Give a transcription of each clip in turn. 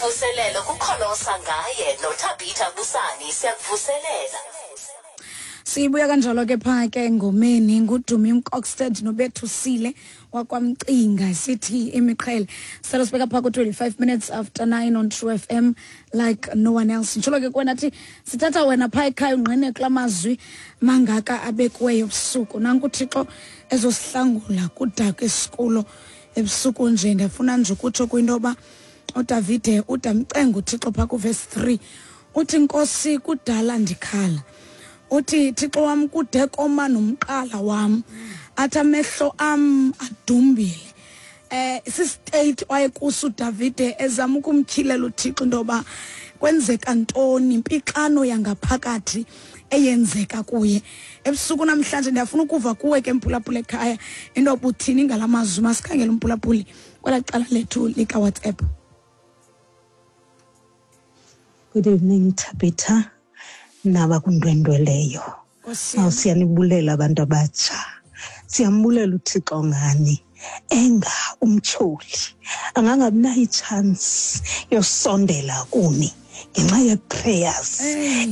Imvuselelo kukholosa ngaye noThabitha Busani siyakuvuselela. Sibuya kanjalo ke phaa ke engomeni nguDumi Mkokstad nobethusile wakwamcinga sithi imiqhele. Selo sibeka phaa ku-25 minutes after 9 on True FM like no one else. Nditsholo ke kwena thi sithatha wena phaa ekhaya ungqine kula mazwi mangaka abekiweyo ebusuku. Nanku uThixo ezosihlangula kudaka esikulo ebusuku nje. Ndiyafuna nje ukutsho kwinto yoba uDavide udamcenga uThixo phaa kuvesi 3 uthi, Nkosi, kudala ndikhala. Uthi, Thixo wam, kude koma nomqala wam, athi amehlo am adumbile. Sistate wayekuso uDavide ezama ukumtyhilela uThixo into yoba kwenzeka ntoni, impixano yangaphakathi eyenzeka kuye. Ebusuku namhlanje ndiyafuna ukuva kuwe ke mphulaphula ekhaya into yoba uthini ngala mazwi. Masikhangele umphulaphuli kwelaa cala lethu likaWhatsApp. Good evening, Tabitha, nabakundwendweleyo. Nkosi yam. Siyanibulela abantu abatsha. Siyambulela uThixo ngani. Enga umtyholi angangabi nayo itshansi yosondela kuni ngenxa ye-prayers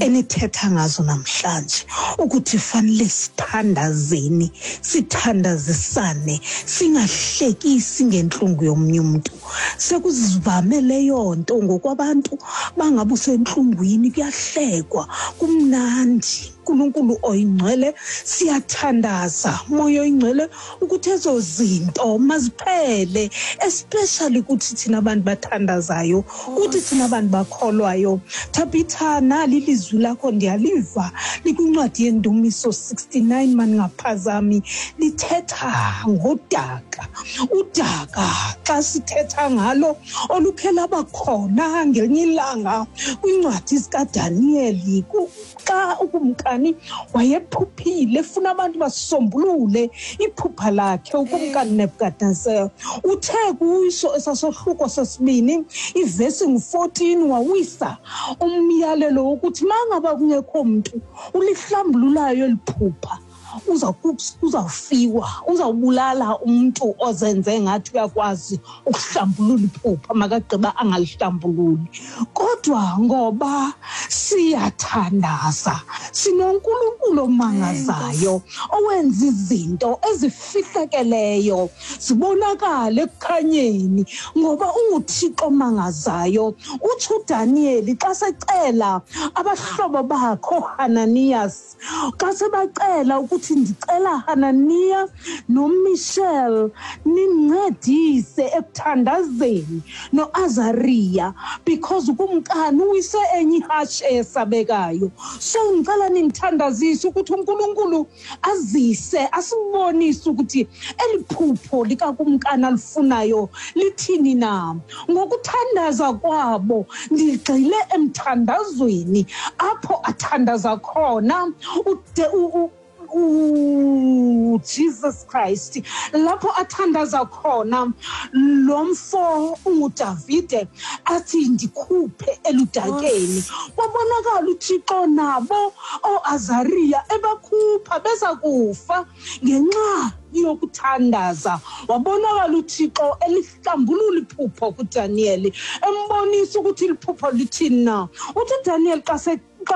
enithetha ngazo namhlanje, ukuthi fanele sithandazeni, sithandazisane, singahlekisi ngentlungu yomnye umntu. Sekuzivame leyo nto ngokwabantu bangabe usentlungwini, kuyahlekwa, kumnandi. uNkulunkulu oyingcwele, siyathandaza Moya oyingcwele ukuthi ezo zinto maziphele, especially kuthi thina bantu bathandazayo, kuthi thina bantu bakholwayo. Tabitha, nali ilizwi lakho ndiyaliva likwincwadi yeNdumiso 69, maningaphazami, lithetha ngodaka. Udaka xa sithetha ngalo olukhe laba khona ngelinye ilanga kwincwadi zikaDaniyeli, xa ukumkani wayephuphile efuna abantu basombulule iphupha lakhe, ukumkani Nebukadnezar uthe kuso esasohluko sesibini ivesi ngu-14 wawisa umyalelo wokuthi mangaba kungekho mntu ulihlambululayo eli phupha, uzawufiwa, uzawubulala umntu ozenze ngathi uyakwazi ukuhlambulula iphupha, makagqiba angalihlambululi. Kodwa ngoba siyathandaza, sinoNkulunkulu omangazayo owenza izinto ezifihlakeleyo zibonakale ekukhanyeni, ngoba unguThixo omangazayo. Utsho uDaniyeli xa secela abahlobo bakhe ooHananiyas, xa sebacela ukuthi ndicela Hananiya noMichelle nincedise ekuthandazeni noAzariya, because ukumkani uwise enye ihashe eyesabekayo, so ndicela nindithandazise ukuthi uNkulunkulu azise asibonise ukuthi eli phupho likakumkani alifunayo lithini na. Ngokuthandaza kwabo ndigxile emthandazweni apho athandaza khona ude uJesus Christ, lapho athandaza khona lo mfo unguDavide athi ndikhuphe eludakeni. Kwabonakala uThixo nabo ooAzariya ebakhupha beza kufa ngenxa yokuthandaza. Wabonakala uThixo elihlambulula iphupho kuDaniyeli, embonisa ukuthi liphupho lithini na. Uthi uDaniyeli xa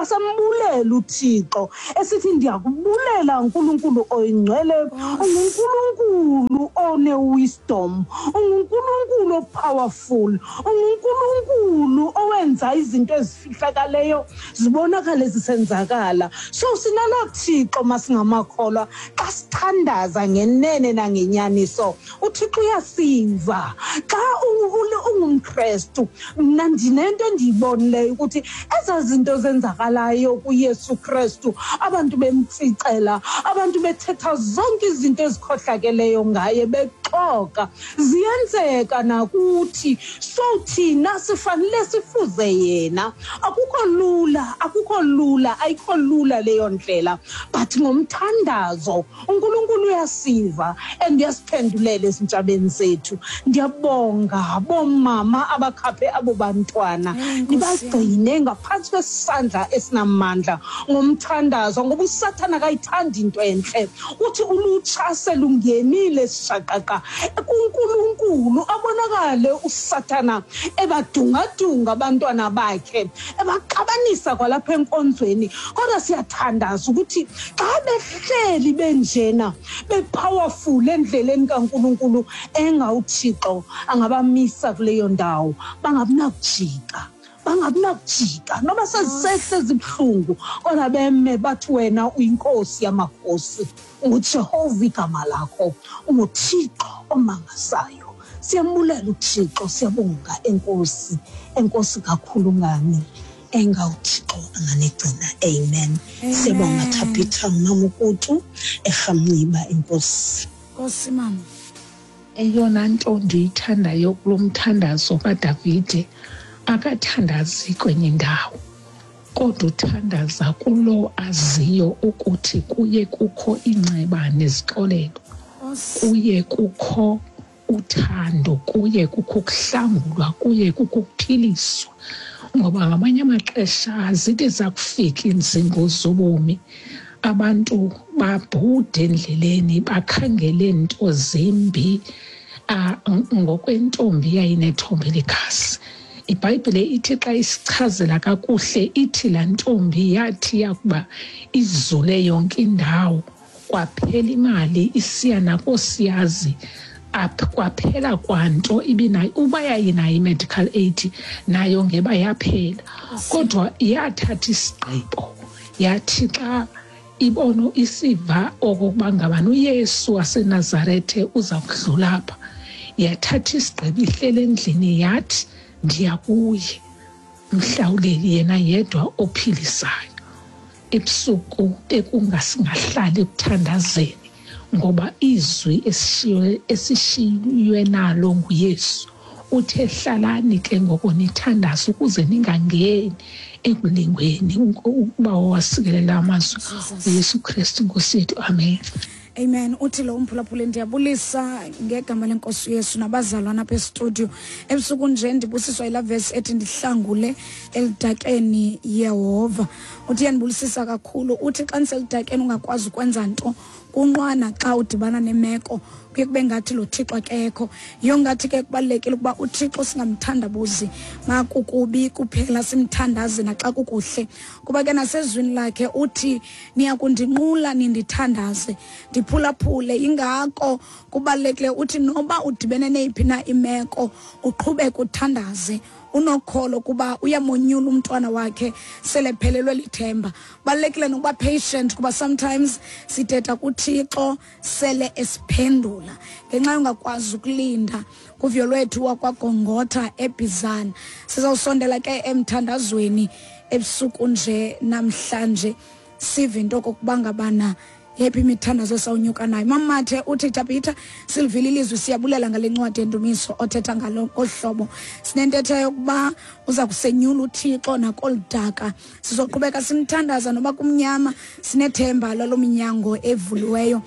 sembulela uThixo esithi ndiyakubulela uNkulunkulu oyingcwele, unguNkulunkulu one-wisdom, unguNkulunkulu o-powerful, unguNkulunkulu owenza izinto ezifihlakaleyo zibonakale zisenzakala. So sinaloo Thixo masingamakholwa, xa sithandaza ngenene nangenyaniso uThixo uyasiva. Xa ungumKrestu, mna ndinento endiyibonileyo ukuthi ezaa zinto zenzakalayo kuYesu Krestu, abantu bemtsicela, abantu bethetha zonke izinto ezikhohlakeleyo ngaye, bexoka, ziyenzeka nakuthi. So thina sifanele sifuze yena. Akukho lula, akukho lula, ayikho lula leyo ndlela, but ngomthandazo uNkulunkulu uyasiva and uyasiphendulela ezintshabeni zethu. Ndiyabonga bomama abakhaphe abo bantwana, nibagcine ngaphantsi kwesandla esinamandla ngomthandazo, ngoba uSathana akayithandi into entle. Uthi ulutsha selungenile sishaqaqa. ithemba kuNkulunkulu. Abonakale uSathana ebadungadunga abantwana bakhe, ebaxabanisa kwalapha enkonzweni, kodwa siyathandaza ukuthi xa behleli benjena bepowerful endleleni kaNkulunkulu, engawuThixo angabamisa kuleyo ndawo, bangabinakujika, bangabinakujika noba sezisehle zibuhlungu, kodwa beme bathi wena uyinkosi yamakhosi, unguJehova igama lakho, unguThixo omangasayo. Siyambulela uThixo, siyabonga enkosi, enkosi kakhulu ngani, engawuThixo anganigcina. Amen. Siyabonga Thabitha, mama Ukutu eRhamnciba. Enkosi. Nkosi mama. Eyona nto ndiyithandayo kulo mthandazo kaDavide, akathandazi kwenye indawo, kodwa uthandaza kulo aziyo ukuthi kuye kukho inceba nezixolelo, kuye kukho uthando, kuye kukho ukuhlangulwa, kuye kukho ukuphiliswa. Ngoba ngamanye amaxesha zithi zakufika iinzingo zobomi, abantu babhude endleleni, bakhangele nto zimbi. Ngokwentombi yayinethombe lekhasi, iBhayibhile ithi xa isichazela kakuhle, ithi laa ntombi yathi yakuba izule yonke indawo, kwaphela imali, isiya nakoosiyazi, kwaphela kwanto ibinayo. Uba yayinayo i-medical aid nayo ngeba yaphela, kodwa yathatha isigqibo, yathi xa ibono isiva okokuba ngabani uYesu waseNazarethe uza kudlula apha, yathatha isigqibo, ihlele endlini, yathi ndiya kuye mhlawuleli, yena yedwa ophilisayo. Ebusuku bekungasingahlali ekuthandazeni, ngoba izwi esishiywe nalo nguYesu uthe hlalani ke ngoko nithandaze ukuze ningangeni ekulingweni. Ukuba wasikelela amazwi uYesu Kristu Nkosi yethu. Amen. Amen. Uthi lo umphulaphuli, ndiyabulisa ngegama lenkosi uYesu nabazalwana apha estudio. Ebusuku nje ndibusiswa yilaa vesi ethi ndihlangule eludakeni Yehova. Uthi iyandibulisisa kakhulu. Uthi xa ndiseludakeni ungakwazi ukwenza nto, kunqwana xa udibana nemeko kuye kube ngathi lo Thixo akekho. Yiyo ngathi ke kubalulekile ukuba uThixo singamthandabuzi makukubi kuphela, simthandaze naxa kukuhle, kuba ke nasezwini lakhe uthi niyakundinqula nindithandaze ndiphulaphule. Ingako kubalulekile uthi noba udibene neyiphi na imeko uqhubeke uthandaze unokholo, kuba uyamonyula umntwana wakhe selephelelwe lithemba. Balulekile nokuba patient, kuba sometimes sithetha kuThixo sele esiphendula ngenxa yongakwazi ukulinda. Kuvyo lwethu wakwaGongotha eBhizana. Sizawusondela ke emthandazweni ebusuku nje namhlanje, sive into okokuba ngabana yephi imithandazo esawunyuka nayo. Mamathe uthi Tabitha, silivile ilizwi, siyabulela ngale ncwadi yendumiso othetha ngalo ngolu hlobo. Sinentetho yokuba uza kusenyula uThixo nakolu daka. Sizoqhubeka simthandaza noba kumnyama, sinethemba lalo minyango evuliweyo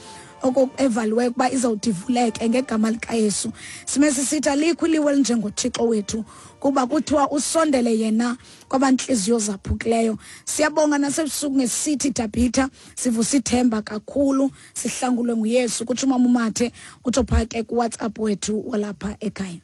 evaliweyo ukuba izawuthi ivuleke ngegama likaYesu. Sime sisithi alikho iliwe elinjengoThixo wethu, kuba kuthiwa usondele yena kwabantliziyo zaphukileyo. Siyabonga nasebusuku ngesithi Tabitha, sivusa ithemba kakhulu, sihlangulwe nguYesu. Kutsho umama uMathe, utsho phaa ke kuWhatsApp wethu walapha ekhaya.